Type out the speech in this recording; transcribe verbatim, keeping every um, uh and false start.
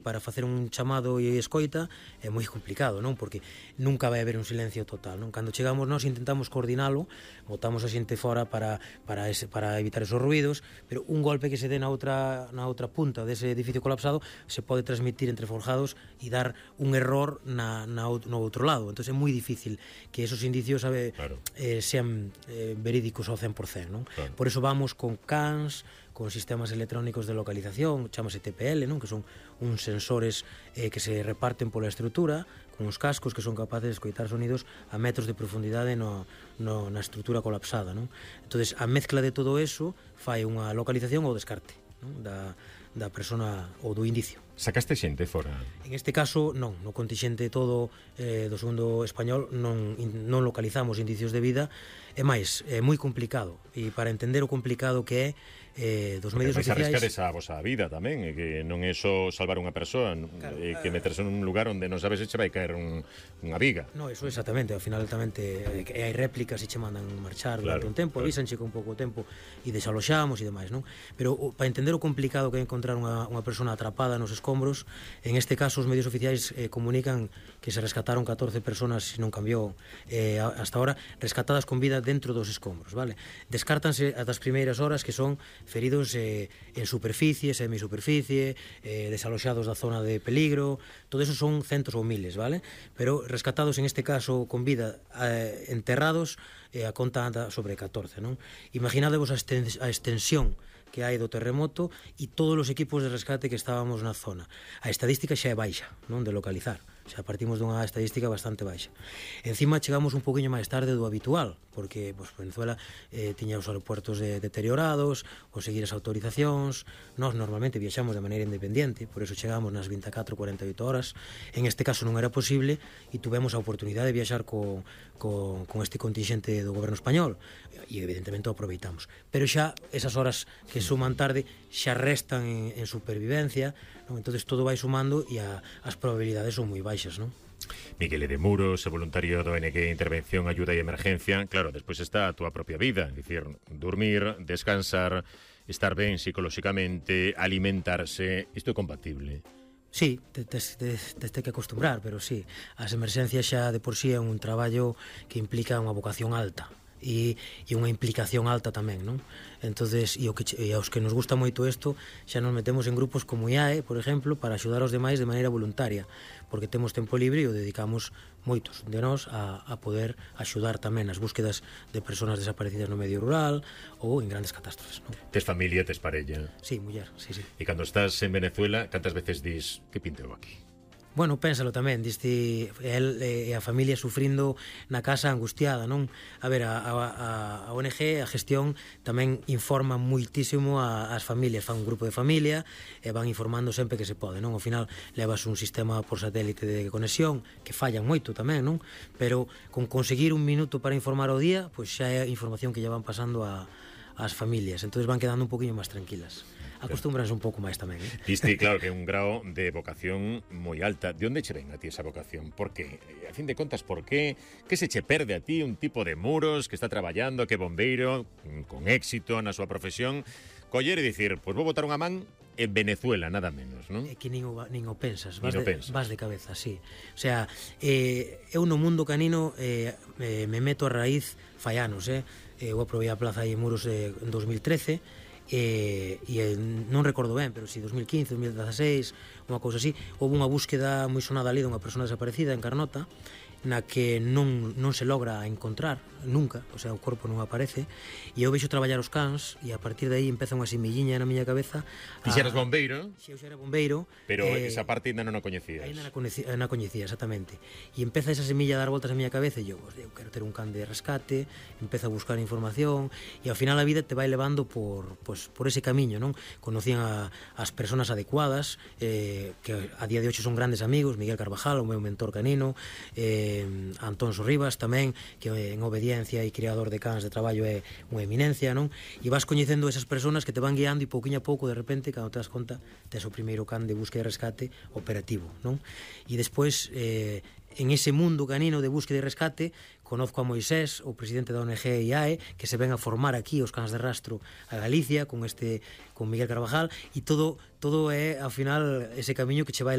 para facer un chamado e escoita é moi complicado, non? Porque nunca vai haber un silencio total, non? Cando chegamos nós intentamos coordinalo, botamos a xente fora para para ese, para evitar esos ruidos, pero un golpe que se dé na outra na outra punta dese edificio colapsado se pode transmitir entre forjados e dar un error na, na no outro lado. Entón é moi difícil que esos indicios sabe, claro. eh, sean eh, verídicos ao cen por cen, non? Claro. Por eso vamos con cans, con sistemas electrónicos de localización, chamase T P L, non? Que son uns sensores eh, que se reparten pola estrutura, con uns cascos que son capaces de escoitar sonidos a metros de profundidade no, no, na estrutura colapsada, non? Entonces, a mezcla de todo eso fai unha localización ou descarte, non? Da, da persona ou do indicio. Sacaste xente fora? En este caso, non, no contingente todo eh, do segundo español non, in, non localizamos indicios de vida. É máis, é moi complicado, e para entender o complicado que é eh, dos medios oficiais... oficiais... Vais a arriscar esa vosa vida tamén, e que non é só salvar unha persoa, claro, e que meterse nun lugar onde non sabes se che vai caer un, unha viga. No, eso exactamente, ao final tamén te, eh, hai réplicas e che mandan marchar durante claro, un tempo, claro. avísanche con pouco tempo e desaloxamos e demais, non? Pero o, para entender o complicado que é encontrar unha, unha persona atrapada nos escombros, en este caso os medios oficiais eh, comunican que se rescataron catorce personas, se non cambiou eh, hasta ahora, rescatadas con vida dentro dos escombros, vale? Descártanse as das primeiras horas que son feridos eh, en superficie, semisuperficie, eh, desaloxados da zona de peligro, todo eso son centos ou miles, vale? Pero rescatados en este caso con vida eh, enterrados, eh, a conta anda sobre catorce, non? Imaginadevos a, extens a extensión que hai do terremoto e todos os equipos de rescate que estábamos na zona. A estadística xa é baixa, non? De localizar. Xa partimos dunha estadística bastante baixa. Encima chegamos un poquinho máis tarde do habitual, porque pues, Venezuela eh, tiña os aeropuertos de, deteriorados, conseguir as autorizacións. Nós normalmente viaxamos de maneira independiente, por eso chegamos nas vinte e catro, cuarenta e oito horas. En este caso non era posible e tuvemos a oportunidade de viaxar co, co, con este contingente do goberno español e evidentemente o aproveitamos. Pero xa esas horas que suman tarde xa restan en, en supervivencia, non? Entonces todo vai sumando e a, as probabilidades son moi baixas, non? Miguel de Muros, voluntario do O N G Intervención, Ayuda e Emergencia. Claro, despois está a túa propia vida, é dicir, dormir, descansar, estar ben psicolóxicamente, alimentarse, isto é compatible? Sí, tes, tes, tes que acostumbrar, pero sí, as emerxencias xa de por sí é un traballo que implica unha vocación alta e, e unha implicación alta tamén, non? Entonces, e, o que, e aos que nos gusta moito isto, xa nos metemos en grupos como I A E, por exemplo, para axudar aos demais de maneira voluntaria, porque temos tempo libre e o dedicamos moitos de nós a, a poder axudar tamén nas búsquedas de persoas desaparecidas no medio rural ou en grandes catástrofes, non? Tes familia, tes parella? Sí, muller, sí, sí. E cando estás en Venezuela, cantas veces dis, que pinteo aquí? Bueno, pénsalo tamén, diste el e a familia sufrindo na casa angustiada, non? A ver, a, a, a O N G, a gestión, tamén informa muitísimo a, as familias, fan un grupo de familia e van informando sempre que se pode, non? Ao final levas un sistema por satélite de conexión que fallan moito tamén, non? Pero con conseguir un minuto para informar o día, pois xa é información que lle van pasando a as familias, entonces van quedando un poquinho máis tranquilas. Acostúmbranse un pouco máis tamén, eh? Diste, claro, que é un grao de vocación moi alta. De onde che ven a ti esa vocación? Por qué? A fin de contas, por qué? Que se che perde a ti un tipo de Muros que está traballando, que é bombeiro, con éxito na súa profesión, coller e dicir, pois pues vou botar unha man en Venezuela, nada menos, non? É que nin o, nin o pensas, vas, nin o de, pensas. vas de cabeza, sí. O sea, eh, eu no mundo canino eh, eh, me meto a raíz fai anos, eh? Eu aprobei a plaza aí en Muros eh, en dos mil trece, e, e non recordo ben, pero si dos mil quince, dos mil dezaseis, unha cousa así, houve unha búsqueda moi sonada ali dunha persona desaparecida en Carnota, na que non, non se logra encontrar nunca, o sea, o corpo non aparece, e eu vexo traballar os cans e a partir de aí empeza unha semilliña na miña cabeza. Ti xeras bombeiro? Si, eu xa era bombeiro, pero eh, esa parte ainda non a coñecías. Ainda non a coñecía, exactamente. E empeza esa semilla a dar voltas na miña cabeza e eu, eu quero ter un can de rescate, empeza a buscar información e ao final a vida te vai levando por, pues, por ese camiño, non? Conocían a, as persoas adecuadas, eh, que a día de hoxe son grandes amigos, Miguel Carvajal, o meu mentor canino, eh, Antón Sorribas tamén, que en obediencia e criador de cans de traballo é unha eminencia, non? E vas coñecendo esas persoas que te van guiando e pouquinho a pouco, de repente, cando te das conta, tes o primeiro can de búsqueda e rescate operativo, non? E despois, eh, en ese mundo canino de búsqueda e rescate, conozco a Moisés, o presidente da O N G I A E, que se ven a formar aquí os cans de rastro a Galicia con este con Miguel Carvajal, e todo todo é ao final ese camiño que che vai